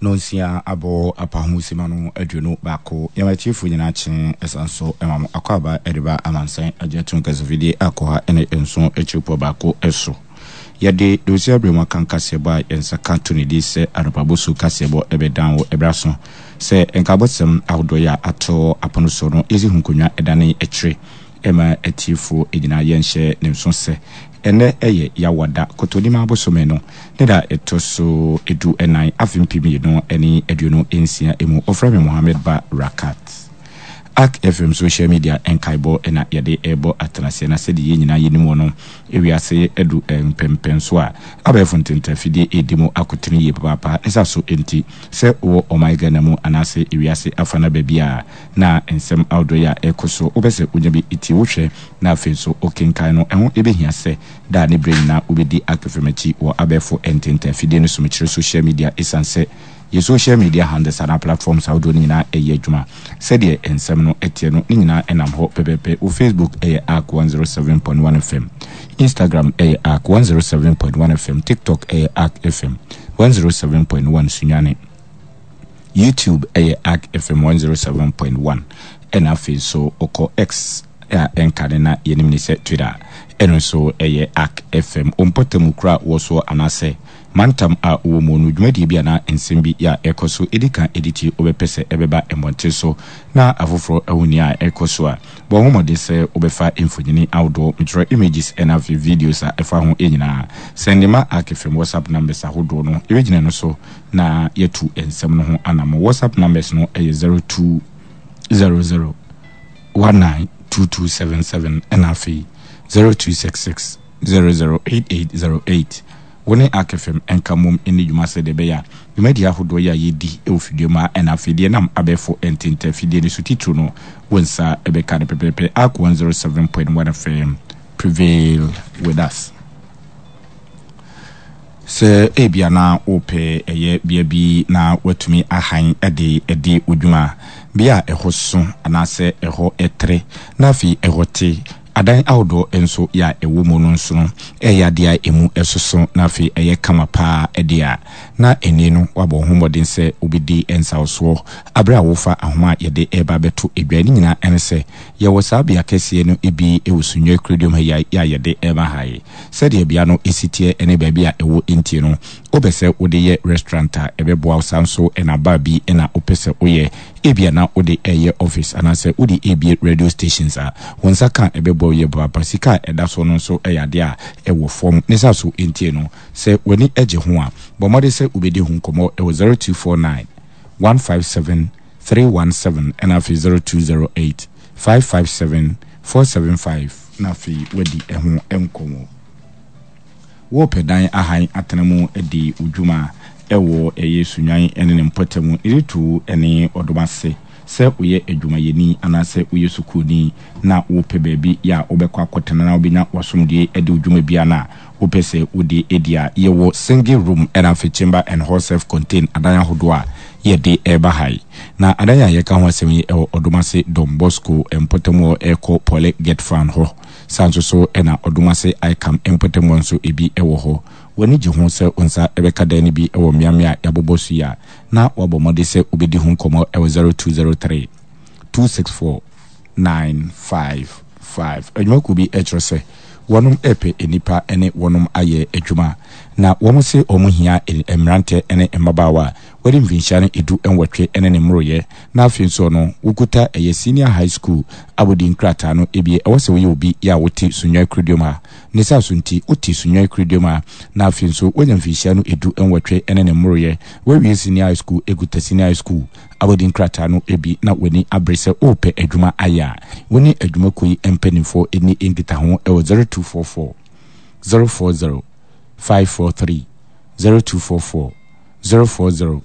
Nonsia abɔ apaho simma no 21. Yɛma atiefo nyinaa kye ɛsan so ma mo akwaaba de ba amansan agye atum kasafidie akɔha ne nson akyiripɔ baako so. Yɛde Nonsia berɛ mu akan kaseɛbɔ a yɛn nsa ka to ne di sɛ anɔpa bosu kaseɛbɔ ɛbɛdan wɔ ɛberɛ aso sɛ nkaabɔsɛm ahodoɔ yi a ato apono so no yɛsi ho nkonnwa dane akyire Ɛma atiefo nyinaa yɛnhyɛ ne nso sɛ ɛnnɛ yɛ Yawada, Kɔtɔnima bosome no ne da a ɛtɔ so 14 afe 2026 mu. Wɔfrɛ me Mohammed Ba Rakat. Ark FM social media nkaebɔ na yɛde rebɔ atenaseɛ na sɛdeɛ yɛn nyinaa yɛnim wɔ no, wiase adu mpɛnpɛnso a abɛɛfo ntentafidie redi mu akotene yie papaapa. Ne saa so nti, sɛ wowɔ ɔman Ghana mu anaase wiase afa no baabi a, na nsɛm ahodoɔ yi a ɛrekɔ so, wopɛ sɛ wonya bi tie, wohwɛ, na afei nso wokenkan no, ɛho bɛhia sɛ daa ne berɛ nyinaa wobɛdi Akefem akyi wɔ abɛɛfo ntentan afidie no so, mekyerɛ social media, ɛsiane sɛ yɛn social media handles anaa platforms ahodoɔ no nyinaa ɛyɛ adwuma. Sɛdeɛ nsɛm no teɛ no, ne nyinaa nam hɔ pɛpɛpɛ. Wo Facebook yɛ Ark 107.1 FM, Instagram yɛ Ark 107.1 FM, TikTok yɛ Ark FM 107.1 Sunyani. YouTube yɛ Ark FM 107.1 ɛna afei nso wokɔ X a ɛnka ne na yɛnim ne sɛ Twitter ɛno nso ɛyɛ Ark FM. Wo mpɔtam kuro a wowɔ soɔ anaasɛ mantam a wowɔ mu no dwumadie bi anaa nsɛm bi a ɛkɔ so ɛdi kan ɛdi tie wobɛpɛ sɛ ɛbɛba mmɔnten so na afoforɔ ahu nea ɛrekɔ so a, bɔ ho mmɔden sɛ wobɛfa mfonini ahodoɔ, metwerɛ images ɛna afei videos a ɛfa ho nyinaa. Sɛnde ma Ark FM WhatsApp numbers ahodoɔ no, yɛbɛgyina ɛno so na yɛatu nsɛm no ho anammɔn. WhatsApp numbers no yɛ 0200 192277 ɛna afei 0266 008808. Wo ne Ark FM nka mmom nni dwuma sɛdeɛ ɛbɛyɛ a dwumadie ahodoɔ yi a yɛdi wɔ fidua mu ha ɛna afei deɛ ɛnam abɛɛfo ntenta afidie no so titiriw no wo nsa bɛka no pɛpɛɛpɛ. Ark 107.1 FM, prevail with us. Sɛ ebia na worepɛ ɛyɛ bea bi na woatumi ahan de adi wo dwuma, bea a ɛhɔ so anaasɛ ɛhɔ trɛ na afei ɛhɔ te, adan ahodoɔ nso yɛ a ɛwɔ mu no nso no ɛyɛ adeɛ a ɛmu soso na afei ɛyɛ kama paa deɛ a, na ɛnne no woabɔ wo ho mmɔden sɛ wobɛdi nsawosoɔ berɛ a worefa ahoma a yɛde reba abɛto dwa. Ne nyinaa ne sɛ yɛwɔ saa bea kɛseɛ no bi wɔ Sunyani Kuroduam ha yi a yɛde reba ha yi. Sɛdeɛ bea no si teɛ ne baabi a ɛwɔ nti no, wopɛ sɛ wode yɛ restaurant a, ɛbɛboa wo. Saa nso na bar bi na wopɛ sɛ woyɛ, ebia na wode reyɛ office anaasɛ wode rebue radio stations a, wo nsa ka a, ɛbɛboa wo yie papaapa. Sika a ɛda so no nso yɛ adeɛ a ɛwɔ fam. Ne saa so nti no, sɛ w'ani gye ho a, bɔ mmɔden sɛ wobɛdi ho nkɔmmɔ wɔ 0249 157 317 ɛna afei 0208 557 475 na afei woadi ɛho nkɔmmɔ. Worepɛ dan ahan atena mu adi wo dwuma wɔ ɛyɛ Sunnwan ne ne mpɔtam, Eretu ne Ɔdom ase. Sɛ woyɛ adwumayɛni anaasɛ woyɛ sukuuni na worepɛ baabi a wobɛkɔ akɔtena na wobɛnya w'asomdwoeɛ adi wo dwuma biara no a wopɛ sɛ wode di a, yɛwɔ single room ɛna afei chamber and hall self contain adan ahodoɔ a yɛde reba ha yi. Na adan a yɛreka ho asɛm yi wɔ Ɔdomase Don Bosco mpɔtam hɔ rekɔ Pɔle Getfan hɔ. Saa nso so na Ɔdomase Icam mpɔtam hɔ nso ebi wɔ hɔ. W'ani gye ho sɛ wo nsa bɛka dan no bi wɔ mmeammea a yɛabobɔ so yi a, na woabɔ mmɔden sɛ wobɛdi ho nkɔmmɔ wɔ 0203 264 955. Adwumakuo bi kyerɛ sɛ wɔnom repɛ nnipa ne wɔnom ayɛ adwuma. Na wɔn se wɔn hia mmerantɛ ne mmabaawa a wɔadi mfinhyia no 18 ne ne mmoroyɛ na afei nso no wokuta ɛyɛ senior high school abodin krataa no bi. Ɛwɔ sɛ woyɛ obi yɛ a wote Sunyani Kuroduam ha. Ne saa so nti wote Sunyani Kuroduam ha na afei nso woanya mfinhyia no 18 ne ne mmoroyɛ, woawie senior high school kuta senior high school abodin krataa no bi na w'ani abere sɛ worepɛ adwuma ayɛ a, wo ne adwumakuo yi mpanimfoɔ nni nkitaho wɔ 0244 040 543, 0244 040.